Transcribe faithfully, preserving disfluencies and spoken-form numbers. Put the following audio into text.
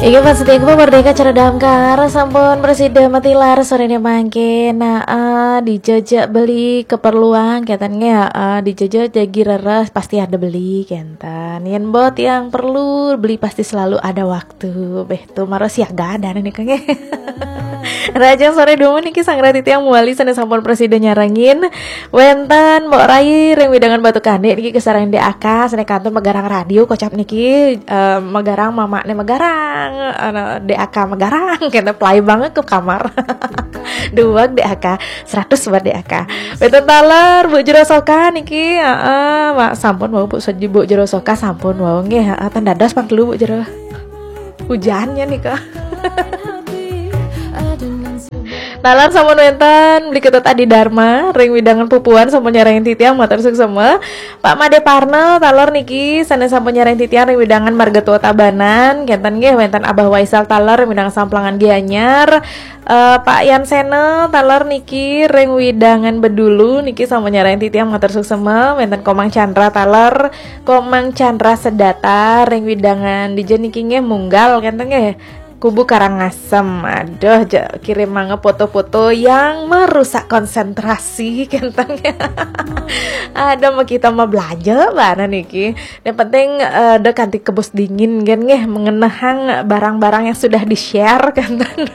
Iki pas tiang ku merdeka cara damkar sampun presida matilar sore ini mangke. Nah, eh, dijajak beli keperluan katanya, eh, dijajak jagi reres pasti ada beli kenten. Yen bot yang perlu beli pasti selalu ada waktu. Beh, tuh maro siaga ada nih kayaknya. Raja sore dulu niki sang rati tiang muali sana sampun presida nyarangin. Wenten Mbok Rai ring widangan Batu Kande niki kesarang D A K, sene kantor Megarang Radio kocap niki, eh, Megarang mamakne Megarang, ana D A K Megarang, kena play banget ke kamar. Dua D A K, seratus buat D A K. Wenten taler Bu Jero Soka niki, heeh, Mak, sampun wau Bu Seji, Bu Jero Soka sampun wau nggih, heeh, ten dados pang telu Bu Jero. Hujannya nih kok. Taler sampun wenten beli ketut Adi Dharma ring widangan pupuan sampun nyarengin titiang matur suksema. Pak Made Parna taler niki sane sampun nyarengin titiang ring widangan marga tua Tabanan, kenten nggih wenten Abah Waisal taler ring widangan Samplangan Gianyar. Eh, Pak Yan Sena taler niki ring widangan Bedulu niki sampun nyarengin titiang matur suksema, wenten Komang Chandra taler, Komang Chandra Sedata ring widangan dija niki nggih Munggal kenten nggih. Kubu Karangasem. Aduh, ja, kirim mangga foto-foto yang merusak konsentrasi kenten. Ada mau kita mau belanja mana niki. Yang penting eh, ada kanti kebus dingin kan nggih mengenehang barang-barang yang sudah di-share kenten.